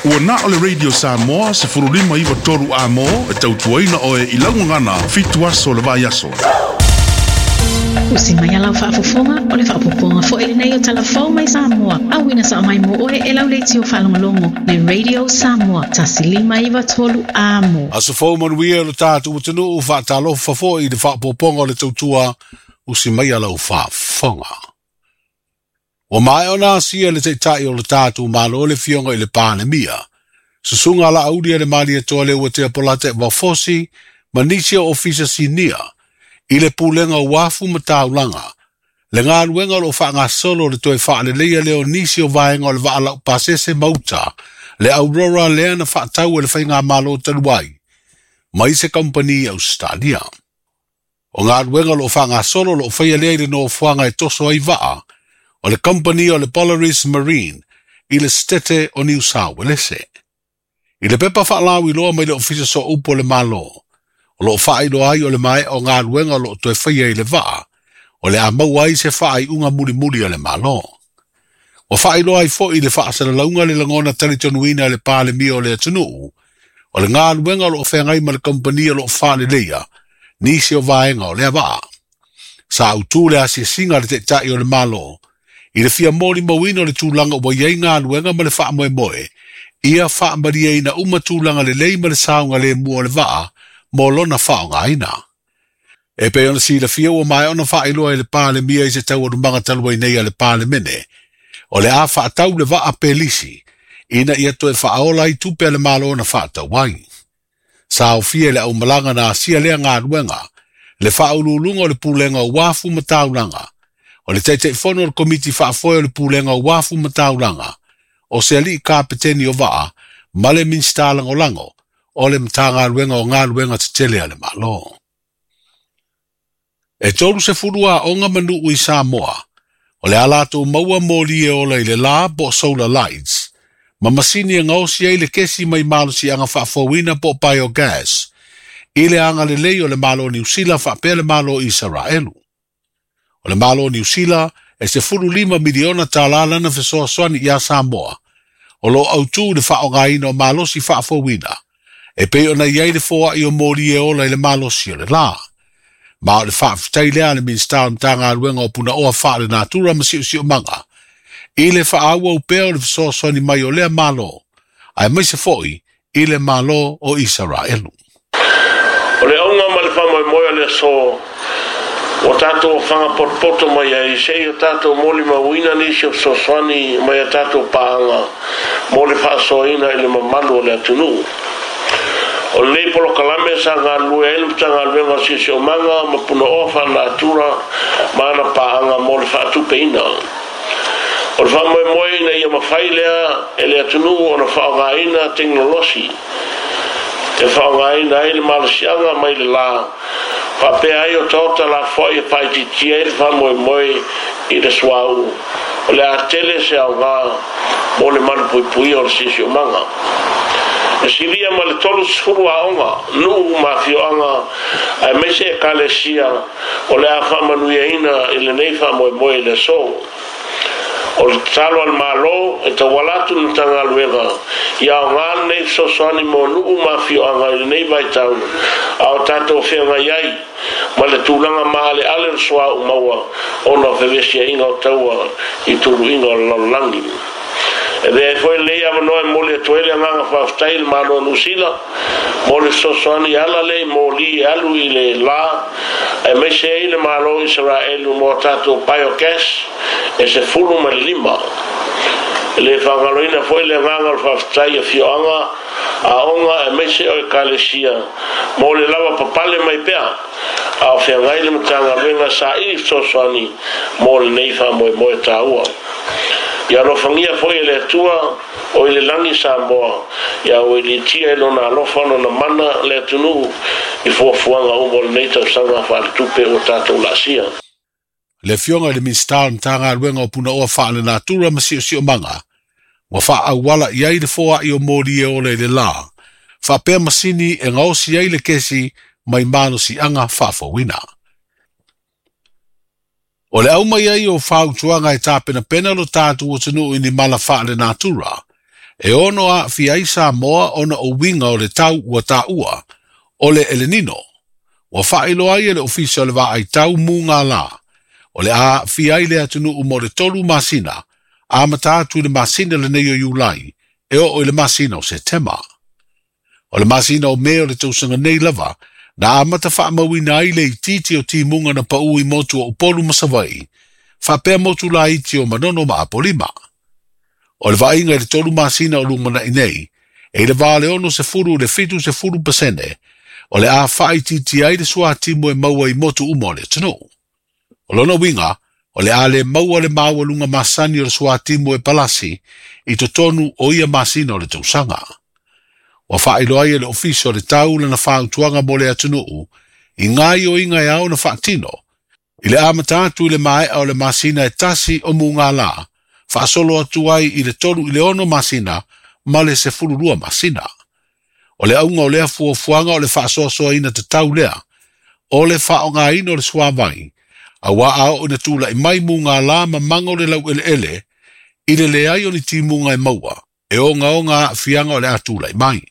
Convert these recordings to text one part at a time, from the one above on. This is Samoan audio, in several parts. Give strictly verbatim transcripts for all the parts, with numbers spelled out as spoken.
Ua na o le Radio Samoa sefulu lima iwa tolu a mo e tautuaina oe i laugagana fitu aso le vai aso. Usi mai alau faafofoga o le faapopoga foi lenei o talafou mai Samoa. Auina sa mai mo oe e lau leitio faalogologo le Radio Samoa tasi lima iwa tolu a mo. Aso fou manuia lo tātou atunuu faatalofa foi i le faapopoga o le tautua usi mai alau faafofoga. Ua maea ona asia le taita'i o le tātou Malo le fioga i le Palemia. Susuga Laauli a le Malietoa le Uatea Polata Vafosi ma nisi o ofisa sinia i le pulega o uafu ma taulaga. Le galuega o loo faagasolo le toe faaleleia lea o nisi o vaega o le vaa laupasese mauta le Aurora lea na faatau e le faigamalo talu ai mai se kampani i Australia. O galuega o loo faagasolo o loo faia lea i le nofoaga e toso ai vaa o le kampani o le Polaris Marine i le Setete o Niu Sauelese. I le pepa faalauiloa mai le Ofisa Sooupu o le Malo, o loo faailoa ai o le maea o galuega o loo toe faia i le vaa, o le a maua ai se faaiuga mulimuli a le Malo. Ua faailoa ai foi i le faasalalauga le lagona talitonuina e le Palemia o le atunuu, o le galuega o loo feagai ma le kampani o loo faaleleia nisi o vaega o lea vaa. Sa autū le asiasiga a le taita'i o le Malo i le fia molimauina o le tulaga ua iai galuega ma le faamoemoe ia faamalieina uma tulaga lelei ma le saogalemu o le vaa mo lona faaaogaina. E pei ona silafia ua maea ona faailoa e le Palemia i se taualumaga talu ai nei a le Palemene, o le a faatau le vaa pelisi ina ia toe faaola ai tupe a le Malo na faatau ai. Sa aofia i le aumalaga na asia lea galuega, le faauluuluga o le pulega o uafu ma taulaga, o le Taitaifono o le Komiti Faafoe o le Pulega o Uafu ma Taulaga, o se alii kapeteni o vaa, ma le Minisita Lagolago o le Matagaluega o Galuega Tetele a le Malo. E tolu sefulu aoga ma nuu i Samoa, o le a latou maua moli e ola i le la po o solar lights, ma masini e gaosi ai le kesi mai malosiaga faafouina po o biogas, i le agalelei o le Malo o Niu Sila faapea le Malo o Isaraelu. O le Malo o Niu Sila e sefulu lima miliona tālā lana fesoasoani iā Samoa, o loo autū le faaaogaina o malosi faafouina, e pei ona i ai le foai o moli e ola i le malosi o le la. Ma o le faafetai lea a le Minisita o le Matagaluega o Punaoa Faalenatura ma Siosiomaga, i le faaauau pea o le fesoasoani mai o lea Malo, aemaise foi i le Malo o Isaraelu. O le auga ma le faamoemoe o le aso ua tatou ofaga potopoto mai ai se'i o tatou molimauina nisi o fesoasoani mai a tatou paaga mo le faasoaina i le mamalu o le atunuu. O lenei polokalame sa galulue ai le Matagaluega o Siosiomaga ma Punaoa Faalenatura ma ana paaga mo le faatupeina. O le faamoemoe ina ia mafai lea e le atunuu ona faaaogaina tekonolosi e faaaogaina ai le malosiaga mai le la faapea ai o taota lafoai e faaitiitia ai le faamoemoe i le suauu o le a tele se aogā mo le malupuipuia o le siosiomaga. E silia ma le tolu sefulu aoga, nuu ma afioaga aemaise ekalesia o le a faamanuiaina i lenei faamoemoe i le aso. O le tatalo a le Malo e tauala atu i le Matagaluega ia aogā lenei fesoasoani mo nuu ma afioaga i lenei vaitau a o tatou feagai ai ma le tulaga maaleale o le suauu maua ona o fevesiaiga o taua i tuluiga o le lalolagi. E avea ai foi lenei avanoa e momoli atu ai le agaga faafetai i le Malo o Niu Sila mo le fesoasoani e ala lea i moli e alu i le la aemaise ai le Malo o Isaraelu mo a tatou biogas e sefulu ma le lima. E le faagaloina foi le agaga o le faafetai i afioaga, aoga aemaise o ekalesia mo le lava papale mai pea a o feagai le Matagaluega saili fesoasoani mo lenei faamoemoe taua. Ia alofagia foi e le Atua o i le lagi Samoa, ia auiliitia e lona alofa lona mana le atunuu i fuafuaga uma o lenei tausaga faaletupe ua tatou laasia. Le Afioga i le Minisita o le Matagaluega o Punaoa Faalenatura ma Siosiomaga, ua faaauala i ai le foai o moli e ola i le la, faapea masini e gaosi ai le kesi mai malosiaga faafouina. O le aumai ai o fautuaga e tapenapena lo tatou atunuu i ni mala faalenatura, E ono aafia ai Samoa ona o uiga o le tau ua taua, o le El Nino. Ua faailoa ai e le Ofisa o le Vaaitau mugala, o le a aafia ai le atunuu mo le tolu masina, amata atu i le masina lenei o Iulai, e oo i le masina o Setema. O le masina o Me o le tausaga nei lava, na amata faamauina ai le itiiti o timuga na pau i motu o Upolu ma Savaii, faapea motu laiti o Manono ma Apolima. O le vaaiga i le tolu masina o lumanai nei, e i le va o le ono sefulu i le fitu sefulu pasene, o le a faaitiitia ai le suatimu e maua i motu uma o le atunuu. O lona uiga, o le a le maua le maualuga masani o le suatimu e palasi i totonu o ia masina o le tausaga. Ua faailoa ai e le Ofisa o le Tau lana fautuaga mo le atunuu i gaoioiga e ao ona faatino, i le amata atu i le maea o le masina e tasi o mugala, faasolo atu ai i le tolu i le ono masina ma le sefulu lua masina. O le auga o lea fuafuaga o le faasoasoaina tatau lea, o le faaaogaina o le suavai, auā a oo ina tula'i mai mugala ma maga o le laueleele, i le leai o ni timuga e maua, e ogaoga aafiaga o le a tula'i mai.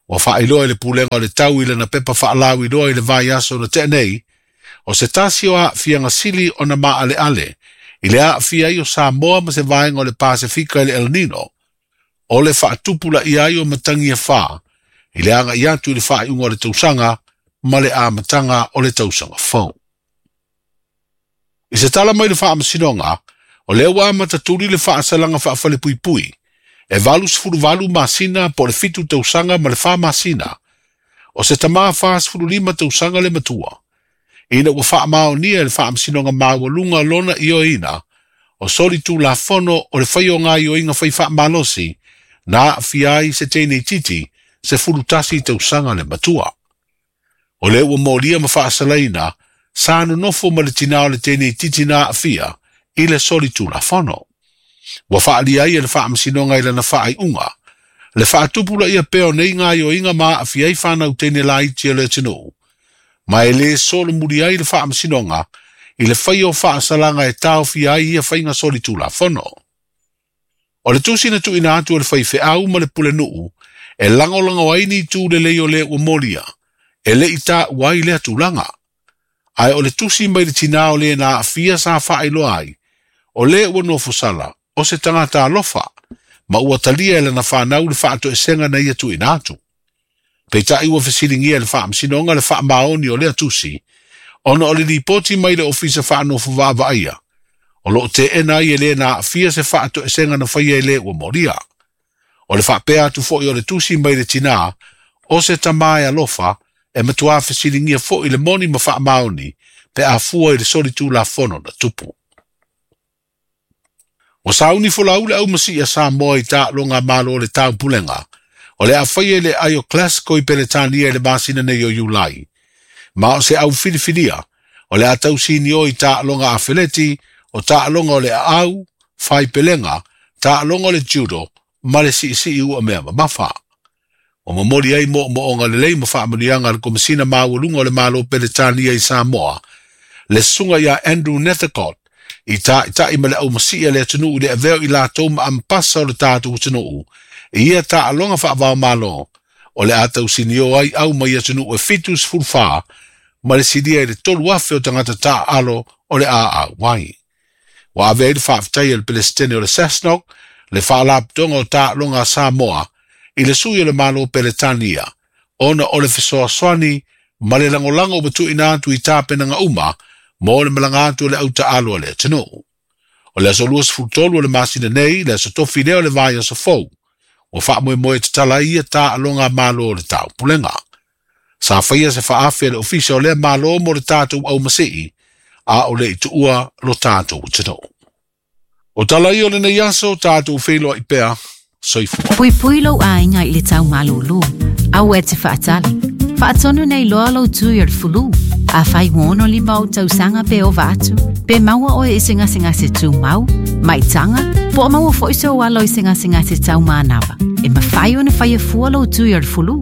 Ua faailoa e le Pulega o le Tau i lana pepa faalauiloa i le vaiaso na tea nei, o se tasi o aafiaga sili ona maaleale, i le aafia ai o Samoa ma se vaega o le Pasefika i le El Nino, o le faatupulaia ai o matagi e fa, i le agai atu i le faaiuga o le tausaga ma le amataga o le tausaga fou. I se tala mai le faamasinoga, o lea ua amata tuli le faasalaga faafalepuipui, e valu sefulu valu masina po o le fitu tausaga ma le fa masina, o se tamā fa sefulu lima tausaga le matua. Ina ua faamaonia e le faamasinoga maualuga lona ioeina, o soli tulafono o le faia o gaoioiga fai faamalosi, na aafia ai se teine itiiti sefulu tasi tausaga le matua. O lea ua molia ma faasalaina, sa nonofo ma le tinā o le teine itiiti na aafia i le soli tulafono. Ua faaalia ai e le faamasinoga i lana faaiuga, le faatupulaia pea o nei gaoioiga ma aafia ai fanau teine laiti o le atunuu, ma e lē solomuli ai le faamasinoga i le faia o faasalaga e taofia ai ia faiga soli tulafono. O le tusi na tuuina atu e le faifeau ma le pulenuu, e lagolago ai ni itu lelei o le ua molia, e le'i taua ai lea tulaga. Ae o le tusi mai le tinā o le na aafia sa faailoa ai, o le ua nofosala, o se tagata alofa, ma ua talia e lana fanau le faatoesega na ia tuuina atu. Peitai ua fesiligia e le faamasinoga le faamaoni o lea tusi, ona o le lipoti mai le Ofisa Faanofo Vaavaaia, o loo teena ai e le na aafia se faatoesega na faia e le ua molia. O le faapea atu foi o le tusi mai le tinā, o se tamā e alofa, e matuā fesiligia foi le moni ma faamaoni, pe a fua i le soli tulafono na tupu. Ua sauni folau le aumasii a Samoa i taaloga a Malo o le Taupulega, o le a faia i le aai o Glasgow i Peretania i le masina nei o Iulai. Ma o se au filifilia, o le a tausinio i taaloga afeleti, o taaloga o le aau, faipelega, taaloga o le judo, ma le siisii ua mea mamafa. Ua momoli ai moomooga lelei ma faamanuiaga a le Komesina Maualuga o le Malo Peretania i Samoa, le susuga ia Andrew Nethercott, i taitai ma le aumasii a le atunuu i le avea o i latou ma ampasa o le tatou atunuu, i ia taaloga faavaomalo, o le a tausinio ai au mai atunuu e fitu sefulu fa, ma le silia i le tolu afe o tagata taaalo o le a auai. Ua ave ai le faafetai a le Pelesitene o le SASNOC, le faalapotopotoga o taaloga a Samoa, i le sui o le Malo Peretania, ona o le fesoasoani ma le lagolago ua tuuina atu i tapenaga uma mo le malaga atu o le autaalo a le atunuu. O le aso luasefulu tolu o le masina nei, le aso tofi lea o le vaiaso fou, ua faamoemoe tatala ai ia taaloga a Malo o le Taupulega. Sa faia se faafe a le Ofisa o lea Malo mo le tatou aumasii, a o le i tuua lo tatou atunuu. O tala ia o lenei aso, tatou feiloai pea, soifua. Puipui lou aiga i le tau malūlū. Aua e te faatali. Faatonu nei loa lou tui o le fulu. Afai ua ono lima ou tausaga pe ova atu, pe maua oe i se gasegase tumau, maitaga, po o maua foi sou alo i se gasegase taumanava, e mafai ona faia fua lou tui o le fulu.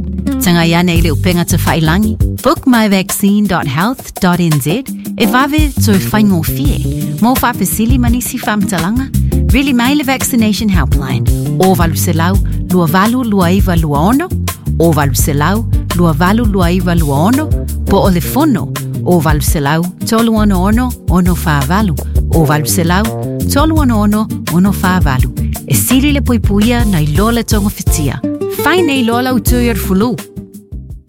Tagai ane i le upega tafailagi book my vaccine dot health dot n z e vave toe faigofie. Mo faafesili ma nisi faamatalaga, Vili mai le Vaccination Helpline o valu selau lua valu lua iva lua ono, o valu selau lua valu lua iva lua ono, po o le fono o valu selau tolu ono ono ono wha valu, o valu selau tolu ono ono ono wha valu. E sili le puipuia na i lola tonga fitia. Fai nei lola utui ar fulu.